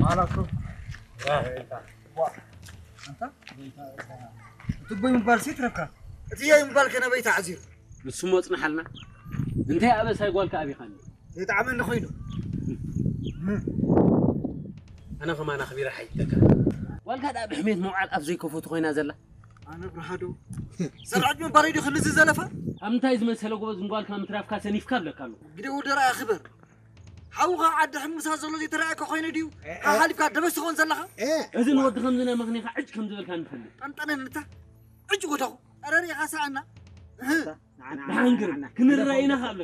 ማላኮ ኣንታ ትቦይ ምባል ሴት ረብካ እቲ ያይ ምባል ከነበይ ተዓዚሩ ንሱ መጽንሓልና እንታይ ኣበሳይ ጓልካ ኣቢኻኒ ዘይጣዕመኒ ኮይኑ ኣነ ከማን ኣኽቢረ ሓይተካ ጓልካ ደኣ ብሕሜት መውዓል ኣፍ ዘይከፈቱ ኮይና ዘላ ኣነ ብርሃዶ ሰራዕት ምባለይ ዲ ክልዚ ዘለፋ ኣብ ምንታይ ዝመሰለ ጎበዝ ንጓልካ ምትራፍካ ሰኒፍካ ኣለካ ኣሎ ግደ ወደራ ኣኽበር ሓውኻ ዓዲ ሕምሳ ዘሎ ዘይተረኣየካ ኮይነ ድዩ ሓሓሊፍካ ደበስ ትኸውን ዘለኻ እዚ ንወዲ ከምዚ ናይ መኽኔኻ ዕጭ ከም ዝበልካ ንፈልጥ ጠንጠነን ንታ ዕጭ ወደኹ ኣረ ሪኢኻ ሰኣና ብሓንግር ክንረኣይና